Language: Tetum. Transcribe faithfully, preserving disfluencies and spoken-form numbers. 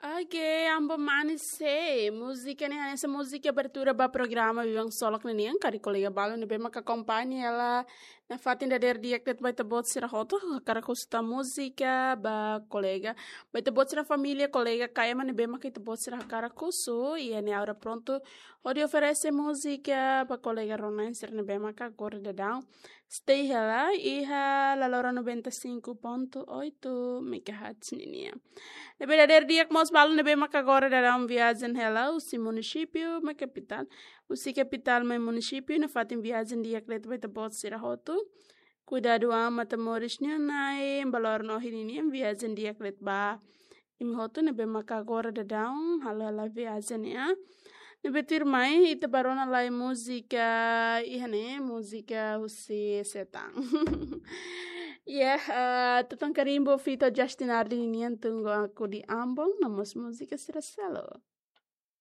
Oke, Ambon Manis, múzika ne'e hanesan múzika abertura ba programa Biban Ksolok ninian, karik kolega balu ne'ebé maka akompaña hela nafatin dadeer di'ak de'it ba ita-boot sira hotu, hakarak husu tan múzika ba kolega, ba ita-boot sira família, kolega ka ema ne'ebé maka ita-boot sira hakarak husu, iha ne'e agora prontu hodi oferese múzika ba kolega rona-na'in sira ne'ebé maka agora daudaun stay hela iha Lalora noventa e cinco ponto oito megahertz ninian. Ne'ebé dadeer di'ak mós balu ne'ebé maka agora daudaun viajen hela husi munisípiu mai kapitál, husi kapitál mai munisípiu, nafatin viajen di'ak de'it ba ita-boot sira hotu. Kuidadu an, matan moris nian na'in, baloron ohin ninian, viajen di'ak de'it ba imi hotu ne'ebé maka agora daudaun halo hela viajen, ya. Ne'ebé tuirmai ita bá rona lai múzika, iha ne'e múzika husi Setang. Ya, eh, Tutan Karimbo feat Justin Ardi ninian, Tunggu Aku di Ambon, no mós múzika sira seluk.